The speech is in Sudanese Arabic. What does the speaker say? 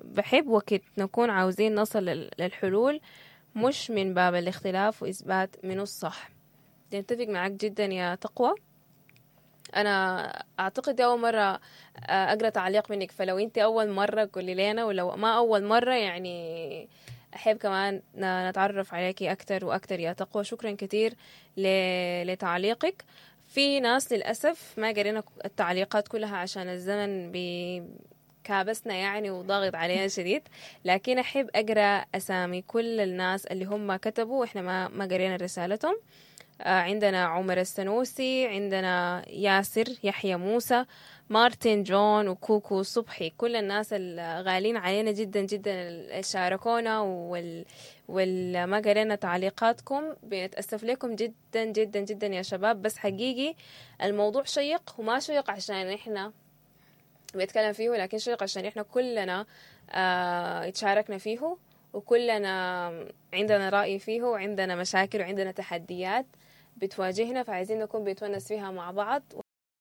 بحب وقت نكون عاوزين نصل للحلول مش من باب الاختلاف واثبات منو الصح. نتفق معاك جدا يا تقوى. انا اعتقد دي اول مرة اقرأ تعليق منك، فلو انت اول مرة قولي لينا، ولو ما اول مرة يعني احب كمان نتعرف عليكي اكتر واكتر يا تقوى. شكرا كتير لتعليقك. في ناس للأسف ما قرينا التعليقات كلها عشان الزمن كابسنا يعني وضاغط علينا شديد، لكن أحب أقرأ أسامي كل الناس اللي هم كتبوا وإحنا ما قرينا رسالتهم. عندنا عمر السنوسي، عندنا ياسر يحيى موسى، مارتن جون، وكوكو صبحي، كل الناس الغالين علينا جدا جدا اللي شاركونا والما قرينا تعليقاتكم. بنتأسف لكم جدا جدا جدا يا شباب، بس حقيقي الموضوع شيق، وما شيق عشان إحنا بنتكلم فيه، لكن شيق عشان إحنا كلنا اتشاركنا فيه، وكلنا عندنا رأي فيه، وعندنا مشاكل، وعندنا تحديات بتواجهنا، فعايزين نكون بنتونس فيها مع بعض.